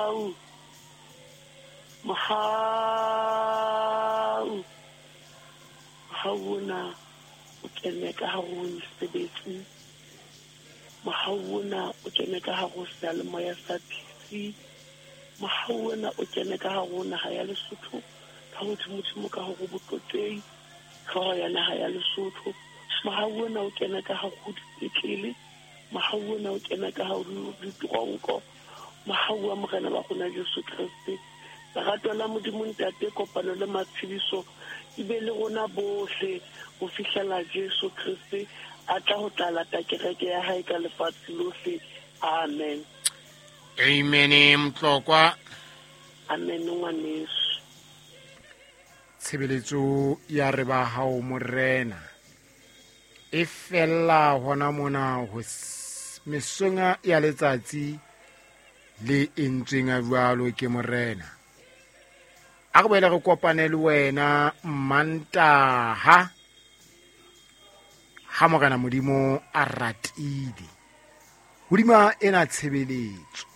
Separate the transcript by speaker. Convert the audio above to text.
Speaker 1: Mohau, mohau, mohau ona o kene ka hare ho mesebetsi. Mohau ona o kene ka hare ho seyalemoya sa PC. Mohau ona o kene ka hare ho naha ya Lesotho, ka hodimodimo ka hare ho Botlotlehi, hlooho ya naha ya Lesotho. Mohau ona o kene ka hare ho dipetlele. Mohau ona o kene ka hare ho diteronko. Mohau wa Morena wa rona Jesu Kreste, lerato la Modimo Ntate, kopano le matshediso di be le rona bohle ho fihlela Jesu Kreste a tla ho tla lata kereke ya hae ka lefatshe lohle. Amen.
Speaker 2: Amen Mtlokwa.
Speaker 1: Amen ngwaneso.
Speaker 2: Tshebeletso ya re ba hao Morena e fella hona mona ho mesonga ya letsatsi le entsweng a jwalo ke Morena. A re boele re kopane le wena Mmantaha ha Morena Modimo a ratile. Hodima ena tshebeletso.